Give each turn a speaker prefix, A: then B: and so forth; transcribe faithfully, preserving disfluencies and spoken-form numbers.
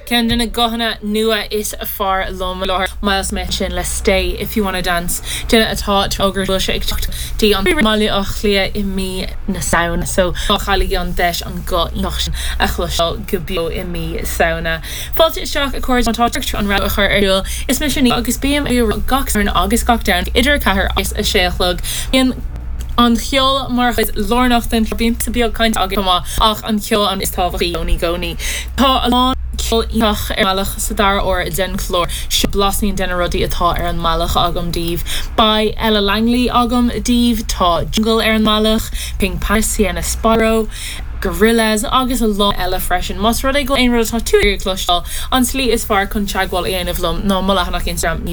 A: Ceann de na guthanna nua is fearr liom láthair Myles Smith sin le Stay if you wanna dance duine atá ógur sé ag dtí an Baile Átha Cliath i mí na Samhna so chailligí an deis an guth sin a chloisteáil go beo i mí Samhna. Fáilte isteach a chairde tá an ra a chur arúil is me sin agus bím gach agus gach Domhnach idir ceathair agus a sé a chlog. Bíonn an ceol mar chuid lárnach den bíonn sa beag caint agam ach an ceol an is tábhachtaí i gcónaí. Tá a lán ceol iontach ar mbealach sa dara huair den chlár seo blaisín de na rudaí atá ar an mbealach agam daoibh. Beidh Ella Langley agam daoibh tá Jungle ar an mbealach, Pink Paris Sienna Spiro, Gorillaz agus a lán eile freisin. Más rud é go aon rud atá tú ag cloisteáil an tslí is fearr chun teagmháil a dhéanamh liom ná mo leathanach Instagram ní